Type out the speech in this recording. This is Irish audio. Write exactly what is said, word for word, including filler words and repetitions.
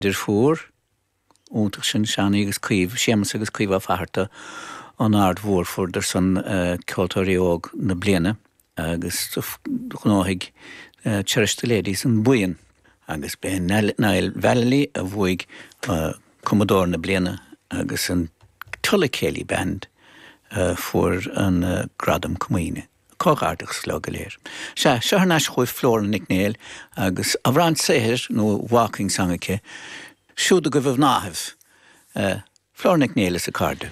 Deirfiúr iontach sin Seánie agus Caomh, Séamus agus Caomh Ó Fatharta an Aird Mhór fuaireadar san uh, ceoltóirí óg na bliana agus ghnóthaigh uh, Cherish the Ladies an buíon agus b'é Niall Vallely a bhuaigh uh, cumadóir na bliana agus an Tulla Céilí Band uh, fuair an uh, gradam comaoine. Comhghairdeachas leo go léir. Se seo anois chugaibh Flora Nic Néill agus amhrán saothair nó waulking song aici, siúd agaibh a mhnáibh. Uh, Flora Nic Néill is a cairde.